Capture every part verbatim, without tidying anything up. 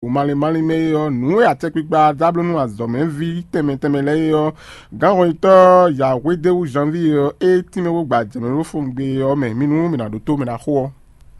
Malin malin mɛ é ɔ́, nǔ e acɛkpikpa dó abló nú azɔ̌mɛví tɛnmɛ tɛnmɛ lɛ́ɛ é ɔ́, gǎnhɔnyitɔ́ Yǎhwédéwú Janvíe ɔ́, é tínmɛ bó gba jɛ̌mɛ ɖó fɔngbe ɔ́ mɛ. Mi nú mi ná ɖótó mɛ ná xo ɔ́.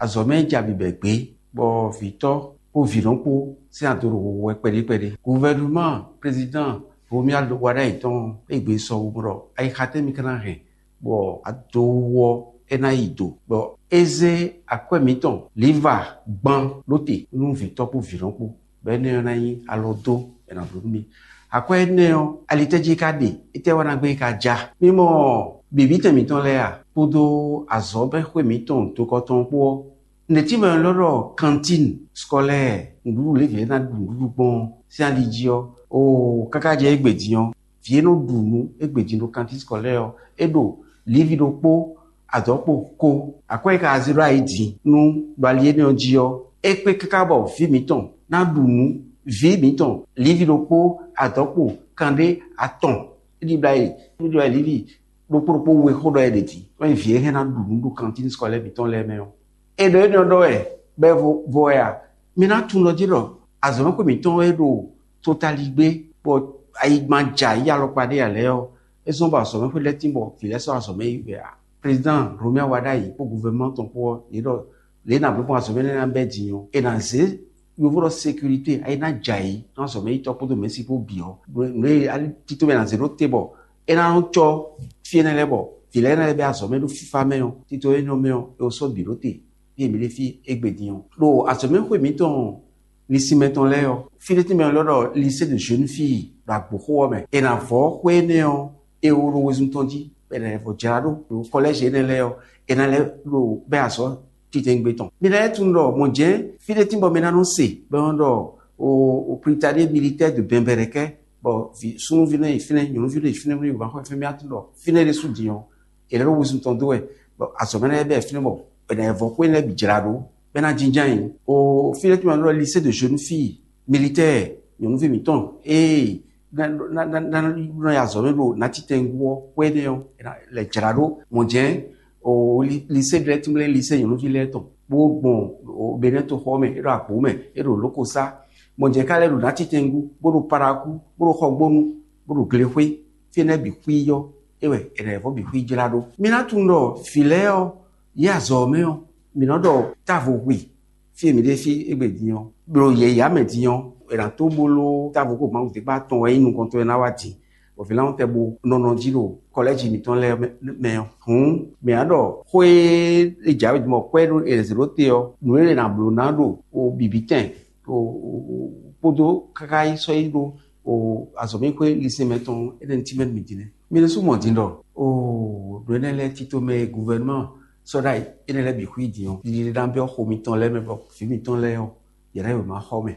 Azɔ̌ mɛ ja bǐbɛ́ gbé, bɔ vǐtɔ́ kpó vǐnɔ kpó sín ado ɖo wowo wɛ kpɛɖé kpɛɖé. Guvɛnúmá prezidán Romuald Wadagni tɔn e gbe sɔ wu ɖɔ ayixa tɛ́ mi ka ná hɛn bɔ adowó ɔ́ é ná yi do, bɔ é zé akwɛ́ mǐtɔn Liva gban ɖó te nú vǐtɔ́ kpó vǐnɔ kpó, bɔ énɛ́ ɔ́ ná nyí alɔ dó è nǎ bló nú mì. Akwɛ́ énɛ́ ɔ́, alitɛ́ jí é ka ɖe? Étɛ́ wá ná gbé é ka ja? Mí mɔ bǐbítɛn mǐtɔn lɛ́ɛ a, kpódó azɔ̌mɛxwé mǐtɔn dokɔ tɔn kpó ɔ́, nɛ̌ tínmɛ lɔ ɖɔ kantín skɔlɛ́ɛ, nǔɖuɖu lě vǐ lɛ́ɛ ná ɖu nǔɖuɖu gbɔn ɔ́ sín ali jí ɔ́, oo káká jɛ égbé din ɔ́, vǐ e nɔ ɖu nǔ égbé din ɖo kantín skɔlɛ́ɛ ɔ́, é ɖo livi ɖokpó adɔ̌kpo ko. Akwɛ́ e ka zé ɖó ayǐ din nú ɖɔ ali énɛ́ ɔ́ jí ɔ́, é kpé káká bɔ vǐ mǐtɔn ná ɖu nǔ, vǐ mǐtɔn livi ɖokpó adɔ̌kpo kanɖé atɔn. É ɖi bla e é ɖi bla e livi ɖokpó ɖokpó we xó ɖɔ é ɖe din, wɛ vǐ e hɛn ná ɖu nǔ ɖo kantín skɔlɛ́ɛ mǐtɔn lɛ́ɛ mɛ ɔ́. È ɖɔ énɛ́ ɔ́ ɖɔ wɛ, bɔ é vo vo wɛ a? Mi ná tunwun ɖɔ jí ɖɔ azɔ̌mɛxwé mǐtɔn e ɖo totaligbé bɔ ayigban ja yí alɔkpa ɖé ǎ lɛ́ɛ ɔ́, é zɔ́n bɔ azɔ̌mɛxwé lɛ́ɛ tín bɔ vǐ lɛ́ɛ sɔ́ azɔ̌mɛ yi wɛ a? Président Romuald Wadagni kpó gouvernement tɔn kpó ɔ́, yě ɖɔ lě e nǎ bló gbɔn azɔ̌mɛ énɛ́ ná bɛ́ din ɔ́, è nǎ zé yovo ɖɔ sécurité, é ná jɛ ayǐ nú azɔ̌mɛyítɔ́ kpódó mɛ̌si kpó bǐ ɔ́, nǔ e tito mɛ ná zé ɖó te bɔ é ná nɔ cɔ́ fí énɛ́ lɛ́ɛ bɔ vǐ lɛ́ɛ ná lɛ́ bɛ́ azɔ̌ mɛ ɖó fífá mɛ ɔ́, tito énɛ́ ɔ́ mɛ ɔ́, è ko sɔ́ bǐ ɖó te fí e mǐ ɖe fí égbé din ɔ́. Ɖo azɔ̌mɛxwé mǐtɔn linsinmɛ tɔn lɛ́ɛ ɔ́, fí ɖé tɛ́nmɛ lɔ ɖɔ lycée de jeunes filles ɖo Agbǒxo ɔ́ mɛ. È nǎ vɔ́ xwé énɛ́ ɔ́, è wo ɖo wezun tɔn jí, bɔ è nǎ lɛ́ vɔ́ jlá ɖó ɖo kɔlɛ́zi énɛ́ lɛ́ɛ ɔ́, è nǎ lɛ́ ɖo bɛ́ azɔ̌ titɛngbe tɔn. Mi ná lɛ́ tunwun ɖɔ mɔ̌ jɛ́n fí ɖé tín bɔ mi ná nɔ se bɔ é nɔ ɖɔ o o Brigade militaire de Bɛnbɛrɛkɛ, bɔ vǐ súnnuví nɔ yi fínɛ́, nyɔ̌nuví nɔ yi fínɛ́, nɔ yi wǎn xɔ fínɛ́, mi ná tunwun ɖɔ fínɛ́ ɖésú din ɔ́, è lɛ́ ɖo wezun tɔn dó wɛ, bɔ azɔ̌ mɛ lɛ́ɛ bɛ fínɛ́ bɔ è nǎ vɔ xwé lɛ́ɛ bǐ jlá ɖó, bɔ é ná jínjɔ́n ayǐ. O fí ɖé tín bɔ è nɔ ɖɔ lycée de jeunes filles militaires, nyɔ̌nuví mǐtɔn, ee ná ná ná ná nɔ yi azɔ̌ mɛ ɖo nátitɛngu ɔ́ xwé énɛ́ ɔ́, è nǎ lɛ́ jlá ɖó mɔ̌ jɛ́n o li- lycée lɛ́ɛ tínmlɛ́ lycée nyɔ̌nuví lɛ́ɛ tɔn, bó gbɔn o Benɛ́ toxɔ mɛ, é ɖo Agbǒ mɛ, é ɖo Lókosá, mɔ̌ jɛ́n ká lɛ́ ɖo nátitɛngu, bó ɖo Parakú, bó ɖo Xɔgbónu, bó ɖo Glexwé, fí énɛ́ bǐ xwí ɔ́, é wɛ è nǎ vɔ́ bǐ xwí jlá ɖó. Mi ná tunwun ɖɔ vǐ lɛ́ɛ ɔ́, yě azɔ̌ ɔ́ mɛ ɔ́, mǐ nɔ ɖɔ távo hwi fí e mǐ ɖe fí égbé din ɔ́, ɖo yɛ̌yá mɛ din ɔ́, è nǎ tó bó ló távo kó Mawu dé kpá tɔn wɛ nyí nukɔntɔn e ná wá din, bɔ vǐ lánwú tɛ bo nɔ nɔ jí ɖo kɔlɛ́ji mǐtɔn lɛ́ɛ mɛ ɔ́. Hǔn mǐ ná ɖɔ xó e è jǎwe din bɔ kwɛ́ ɖó è zě ɖó te ɔ́, nǔ e è nǎ bló ná ɖo o bǐbítɛn o kpódó káká yi sɔ́ yi ɖó o azɔ̌mɛxwé lisɛnmɛ tɔn énɛ́ ní tínmɛ mǐ din nɛ́. Mi ɖésú mɔ din ɖɔ o ɖo énɛ́ lɛ́ɛ tito mɛ e guvɛnúmɛ sɔ́ ɖ'ayǐ énɛ́ lɛ́ɛ bǐ xwí din ɔ́, ɖiɖe ná byɔ́ xo mitɔn lɛ́ɛ mɛ bɔ vǐ mitɔn lɛ́ɛ ɔ́, yě ná yi wěma xɔ mɛ,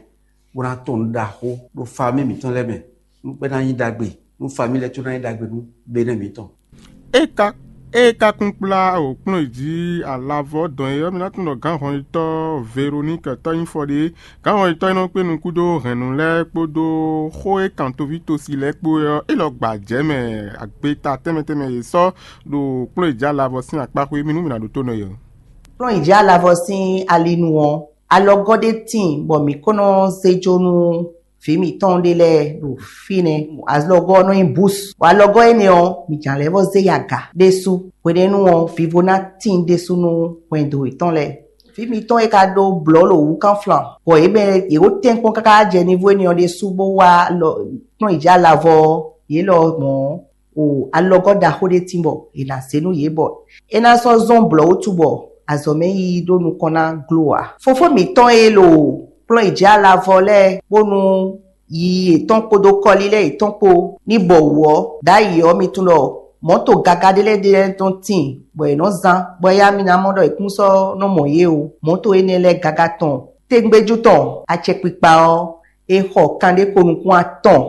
bó ná tɔn nǔ ɖaxó ɖo famí mǐtɔn lɛ́ɛ mɛ, nú gbɛ́ ná nyí ɖagbe, nú famí lɛ́ɛ tó ná nyí ɖagbe nú benɛ́ mǐtɔn. É ka é ka kún kplá o kplɔ́n jí alavɔ dɔn é ɔ́, mi ná tunwun ɖɔ gǎnhɔnyitɔ́ Veronike tɔ́nyífɔ ɖé. Gǎnhɔnyitɔ́ e nɔ kpé nukún dó hɛ̌nnu lɛ́ɛ kpódó xó e kan toví tosi lɛ́ɛ kpó é ɔ́, é lɔ gba jɛ̌ mɛ agbeta tɛnmɛ tɛnmɛ e sɔ́ ɖo kplɔ́n e jǎ lavɔ sín akpá xwé mì nú mì nǎ ɖótó nɔ é ɔ́. Kplɔ́n e jǎ lavɔ sín alinu ɔ́, alɔgɔ́ ɖé tíin bɔ mǐ kó nɔ zé jó nú vǐ mǐtɔn ɖé lɛ́ɛ ɖo fínɛ́. Alɔgɔ́ ɔ́ nɔ nyí bus, bɔ alɔgɔ́ énɛ́ ɔ́, mǐ jǎn lɛ́ vɔ zé yi aga ɖésú. Hwenɛ́nu ɔ́, vivo ná tíin ɖésú nú hwɛndo yětɔn lɛ́ɛ. Vǐ mitɔn e ka ɖó blɔ̌ ɖo wǔkánflan, bɔ yě mɛ yě ko tɛ́nkpɔ́n káká jɛ nivo énɛ́ ɔ́ ɖésú bó wá kplɔ́n yi jɛ alavɔ ɔ́, yě lɔ mɔ̌ o alɔgɔ́ ɖaxó ɖé tín bɔ è nǎ zé nú yě bɔ é ná sɔ́ zɔ́n blɔ̌ wútu bɔ azɔ̌ mɛ yiyi ɖó nukɔn ná glo ǎ. Fofó mǐtɔn e ɖo kplɔ́n yi jɛ alavɔ lɛ́ɛ bónú yiyi yětɔn kpódó kɔlílɛ́ yětɔn kpó ní bɔ wǔ ɔ́, ɖ'ayǐ ɔ́, mi tunwun ɖɔ mɔ̌to gaga ɖé lɛ́ɛ ɖé lɛ́ɛ tɔn tíin, bɔ è nɔ́ zán, bɔ éyá mi ná mɔ ɖɔ è kún sɔ́ nɔ mɔ yě o. Mɔ̌to énɛ́ lɛ́ɛ gaga tɔn tégbéjú tɔn acɛkpikpa ɔ́, è xɔ kanɖé ko nukún atɔn,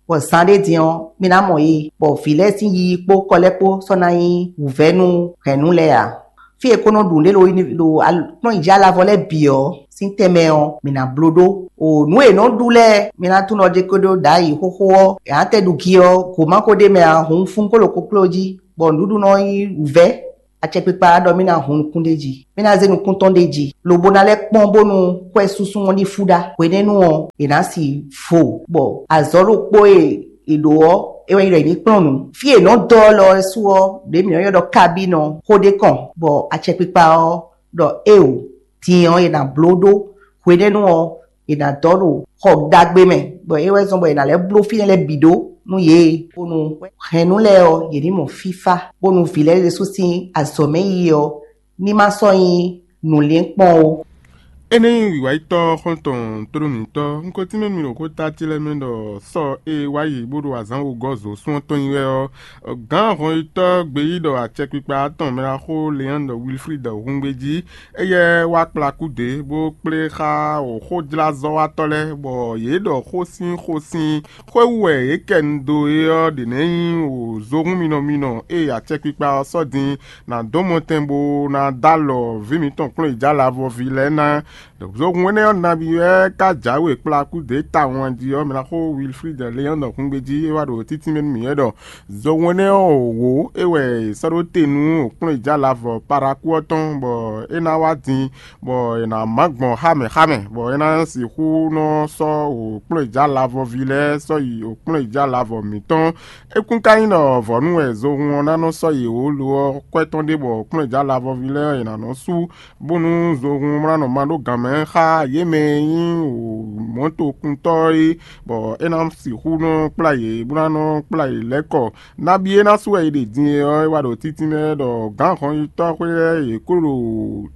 bɔ zán ɖé din ɔ́, mi ná mɔ yě, bɔ vǐ lɛ́ɛ sín yiyi kpó kɔlɛ́ kpó sɔ́ ná nyí wǔvɛ́ nú hɛ̌nnu lɛ́ɛ ǎ. Fí e è ko nɔ ɖu nǔ ɖé ɖo kplɔ́n yi jɛ alavɔ lɛ́ɛ bǐ ɔ́ sín tɛnmɛ ɔ́, mǐ ná bló ɖó. O nǔ e è nɔ ɖu lɛ́ɛ, mi ná tunwun ɖɔ jɛ ko ɖó ɖǎyi xóxó ɔ́, è nǎ tɛ ɖu gi ɔ́, gǒ ma ko ɖ'é mɛ ǎ, hǔn fún kó ɖo kokló jí, bɔ nǔɖuɖu nɔ nyí wǔvɛ́ Acɛkpikpa ɔ́ ɖɔ mì ná hun nukún ɖé jí, mì ná zé nukún tɔn ɖé jí, lobo ná lɛ́ kpɔ́n bónú xwɛ súnsún ɔ́ ní fú ɖá. Hwenɛ́nu ɔ́, è nǎ si vo, bɔ azɔ̌ ɖokpó e è ɖǒ ɔ́, é wɛ nyí ɖɔ è ní kplɔ́n nǔ. Fí e è nɔ́ dɔ́ lɔ ɔ́ su ɔ́, ɖě mǐ nɔ́ ylɔ́ ɖɔ kabín ɔ́, xó ɖé kɔn, bɔ acɛkpikpa ɔ́ ɖɔ éeǒ, din ɔ́, è nǎ bló ɖó. Hwenɛ́nu ɔ́, è nǎ dɔ́ ɖo xɔ ɖagbe mɛ, bɔ é wɛ zɔ́n bɔ è nǎ lɛ́ bló fínɛ́ lɛ́ɛ bǐ ɖó nú yě, bónú hɛ̌nnu lɛ́ɛ ɔ́, yě ní mɔ fífá, bónú vǐ lɛ́ɛ ɖésú sín azɔ̌ mɛ yiyi ɔ́ ní ma sɔ́ nyí nǔlinkpɔ́n ó. Énɛ́ nyí wǐwáyítɔ́ xɔ́ntɔn tóɖó mǐtɔn. Un ko tínmɛ mi ɖo xóta ce lɛ́ɛ mɛ ɖɔ sɔ e wá yi bó ɖo azǎn wegɔ́ zǒsún ɔ́ tɔn nyi wɛ ɔ́, gǎn hɔnyitɔ́ gbeyíɖɔ acɛkpikpa tɔn mɛɖaxó Leandre Wilfrid Hungbejí, éyɛ́ wá kplá kúdě bó kplé xá xójlázɔ́watɔ́ lɛ́ɛ, bɔ yě ɖɔ xó sín xó sín xwé wú wɛ yě kɛ nu dó é ɔ́ ɖě nɛ́ nyí wǒzohún minɔ minɔ e acɛkpikpa ɔ́ sɔ́ din ná dó mɔtɛn bó ná dó alɔ vǐ mǐtɔn kplɔ́nyijǎ-lavɔví lɛ́ɛ ná. Zohun énɛ́ ɔ́ nabí wɛ ka jǎwe kplá kúdě tawun jí ɔ́, mɛ ná xó Wilfrid Leandre Hungbejí é wá ɖo títínmɛ nú mǐ wɛ ɖɔ zohun énɛ́ ɔ́ wǒ é wɛ è sɔ́ ɖó te nú kplɔ́nyijǎ-lavɔ Parakú ɔ́ tɔn, bɔ é ná wá din, bɔ è nǎ má gbɔn xá mɛ xá mɛ, bɔ é ná sixú nɔ sɔ́ kplɔ́nyijǎ-lavɔví lɛ́ɛ sɔ́ yi kplɔ́nyijǎ-lavɔ mǐtɔn. É kún ka nyí ɖɔ vɔ̌nu wɛ zohun ɔ́ ná nɔ sɔ́ yě wǒ lo ɔ́, kwɛ́ tɔn ɖé bɔ kplɔ́nyijǎ-lavɔví lɛ́ɛ è nǎ nɔ sú bónú zohun mlánɔ ma ɖó gǎn mɛ xá yě mɛ e nyí mɔ̌tokuntɔ́ é, bɔ é ná sixú nɔ kplá yě, bó ná nɔ kplá yě lɛ́ kɔ. Nabí e ná sú wɛ è ɖe din é ɔ́, é wá ɖo títínmɛ ɖɔ gǎn hɔnyitɔ́ xwé lɛ́ɛ yě kó ɖo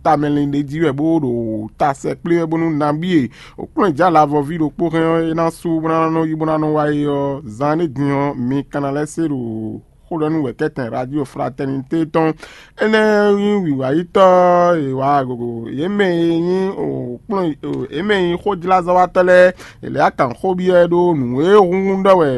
tamɛlin ɖé jí wɛ, bó ɖo ta sɛkplé wɛ, bónú nabí e kplɔ́nyijǎ-lavɔví ɖokpó hɛn ɔ́, é ná sú bó ná nɔ yi bó ná nɔ wá é ɔ́, zan énɛ́ din ɔ́, mi ka ná lɛ́ se ɖo xó ɖɔ nú wɛ̌kɛ́tɛn Radio Fraternité tɔn. Énɛ́ nyí wǐwáyítɔ́ e wǎ gogo yě mɛ e nyí kplɔ́n yě mɛ e nyí xójlázɔ́watɔ́ lɛ́ɛ, è lɛ̌ akǎn xó byɔ́ ɛ ɖó nǔ e húnhún ɖɔ wɛ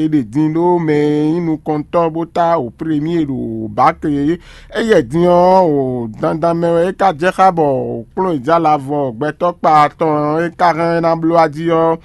è ɖe din ɖó mɛ e nyí nukɔntɔ́ bó tá wǒ premie ɖo bǎke é. Éyɛ́ din ɔ́, o dandan mɛ wɛ é ka jɛ xá bɔ kplɔ́n e jɛ alavɔ gbɛtɔ́ kpa tɔn é ka hɛn ná bló ají ɔ́,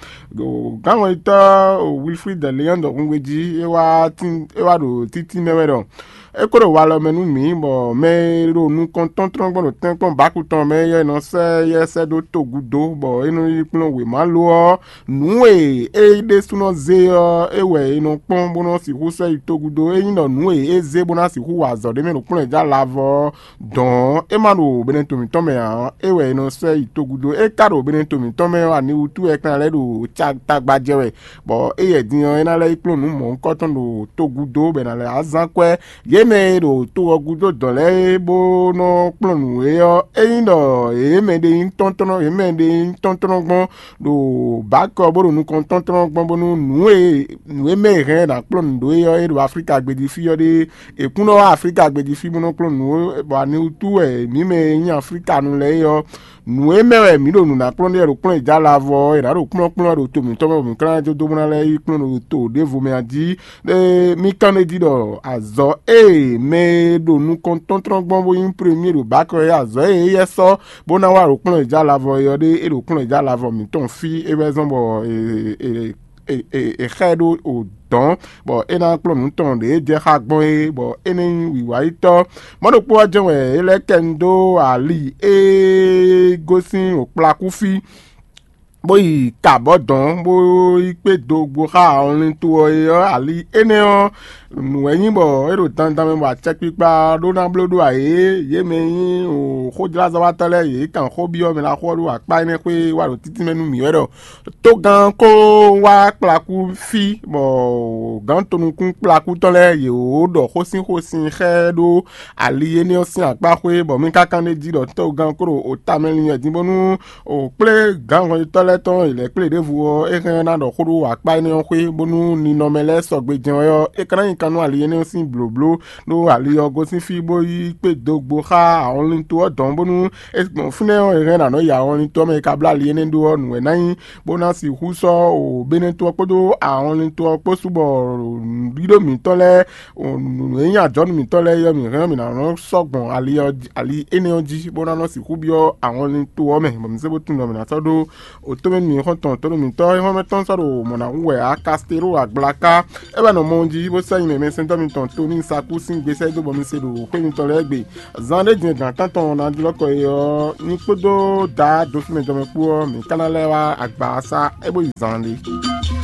gǎnwɛntɔ́ Wilfrid Leandre Hungbeji é wá tín é wá ɖo títí mɛ wɛ ɖɔ é kó ɖo walɔ mɛ nú mǐ, bɔ mɛ e ɖo nukɔn tɔ́ntɔ́n gbɔn ɖo tɛ́nkpɔ́n bǎku tɔn mɛ é nɔ sɛ́ yɛ sɛ́ dó togun dó, bɔ é nɔ yi kplɔ́n wěma lo ɔ́, nǔ e é ɖésúnɔ zé ɔ́, é wɛ è nɔ kpɔ́n bó nɔ́ sixú sɛ́ yi togun dó. Ényí ɖɔ nǔ e é zé bó ná sixú wa azɔ̌ ɖé mɛ ɖo kplɔ́n e jɛ alavɔ ɔ́, dɔ̌n é ma ɖo benɛto mǐtɔn mɛ ǎ, é wɛ è nɔ sɛ́ yi togun dó. É ka ɖo benɛto mǐtɔn mɛ ɔ́, ani wútu wɛ é ka ná lɛ́ ɖo tagbajɛ wɛ, bɔ éyɛ́ din ɔ́, é ná lɛ́ yi kplɔ́n nǔ mɔ̌hunkɔtɔn ɖo togun dó, bɔ è nǎ lɛ́ azán kwɛ́ yě mɛ e ɖo to ɔ́ gúdo dɔ̌n lɛ́ɛ é bó nɔ́ kplɔ́n nǔ é ɔ́, ényí ɖɔ yě mɛ ɖe nyí tɔ́ntɔ́n yě mɛ ɖe nyí tɔ́ntɔ́n gbɔn ɖo bǎkɔ bó ɖo nukɔn tɔ́ntɔ́n gbɔn bónú nǔ e nǔ e mɛ è hɛn ná kplɔ́n nǔ ɖó é ɔ́, é ɖo Aflíka gbéjí fí ɔ́ ɖe. È kún nɔ wá Aflíka gbéjí fí bó nɔ́ kplɔ́n nǔ ó, bɔ ani wútu wɛ mǐ mɛ e nyí Aflíkanu lɛ́ɛ é ɔ́, nǔ e mɛ wɛ mǐ ɖo nǔ ná kplɔ́n ɖe ɖo kplɔ́n e jɛ alavɔ ɔ́, è nǎ ɖo kplɔ́nkplɔ́n wɛ ɖo to mǐtɔn mɛ, bɔ mǐ ka ná jó dó bó ná lɛ́ yi kplɔ́n ɖo to ɖěvo mɛ a jí. Ɖé mì kán ɖ'é jí ɖɔ azɔ̌ e mɛ e ɖo nukɔn tɔ́ntrɔ́n gbɔn bó nyí premie ɖo bǎkɔ é, azɔ̌ e éyɛ́ sɔ́ bó ná wá ɖo kplɔ́n e jɛ alavɔ é ɔ́ ɖé, é ɖo kplɔ́n e jɛ alavɔ mǐtɔn fí, é wɛ zɔ́n bɔ è xá ɛ ɖó o dɔ̌n, bɔ é ná kplɔ́n nǔ tɔn ɖě jɛ xá gbɔn é, bɔ é ní nyí wǐwáyítɔ́. Mɔ̌ ɖokpó ɔ́ jɛ́n wɛ é lɛ́ kɛ nu dó ali e gosín wǒkplakú fí, bó yi ka abɔ̌ dɔ̌n, bó yi kpé do gbo xá awɔnlin to ɔ́ é ɔ́, ali énɛ́ ɔ́, nǔ wɛ nyí bɔ é ɖo dandan mɛ bɔ acɛkpikpa ɖó ná bló ɖó ayě, yě mɛ e nyí xójlázɔ́watɔ́ lɛ́ɛ yě kan xó byɔ́ mɛ ná xó ɔ́ ɖo akpá énɛ́ xwé wá ɖo títí mɛ nú mǐ wɛ ɖɔ togán kó wá kplakú fí, bɔ gǎn tonukún kplakú tɔn lɛ́ɛ yě wǒ ɖɔ xósínxósin xá ɛ ɖó ali énɛ́ ɔ́ sín akpá xwé, bɔ mì ka kan ɖ'é jí ɖɔ togán kó ɖo o tamɛ linlɛn dín bónú o kplé gǎnhɔnyitɔ́ lɛ́ɛ tɔn e lɛ̌ kplé ɖěvo ɔ́, é hɛn ná ɖɔ xó ɖó akpá énɛ́ ɔ́ xwé, bónú ninɔmɛ lɛ́ɛ sɔgbe jɛ́n wɛ ɔ́, é ka ná nyi kan nú ali énɛ́ ɔ́ sín blǒbló, ɖó ali ɔ́ gosín fí bó yi kpé dó gbo xá awɔnlin to ɔ́ dɔn, bónú é gbɔn fínɛ́ ɔ́, è hɛn ná nɔ yi awɔnlin to ɔ́ mɛ, é ka bló ali énɛ́ ɖó ɔ́, nǔ wɛ ná nyí, bó ná sixú sɔ́ o Benɛto ɔ́ kpódó awɔnlin to ɔ́ kpó sú, bɔ nǔɖíɖó mǐtɔn lɛ́ɛ, nǔ e nyí ajɔ̌nú mǐtɔn lɛ́ɛ é ɔ́, mǐ hɛn ɔ́, mǐ ná nɔ sɔ́ gbɔn ali ɔ́, ali énɛ́ ɔ́ jí, bó ná nɔ sixú byɔ́ awɔnlin to ɔ́ mɛ, bɔ mǐ zé bó tunwun ɖɔ mǐ ná sɔ́ ɖó tómɛnu mǐxɔ́ntɔn tónú mǐtɔn e hɔn mɛ tɔn sɔ́ ɖo mɔ̌ ná hu wɛ á. Kasteló agblaka é wɛ nɔ mɔ jí bó sɛ́ nyi mɛ mɛsɛntɔ́ mitɔn Toníi Sakúsin gbé sɛ́ dó bɔ mi se ɖo xwé mitɔn lɛ́ɛ gbe. Zan ɖé din e gǎn tántɔn ná jlɔ́ kɔ é ɔ́, nyí kpódó Daá Dofínmɛ jɔmɛ kpó ɔ́, mǐ ka ná lɛ́ wá agba ɔ́ sá é bó yi zan ɖé.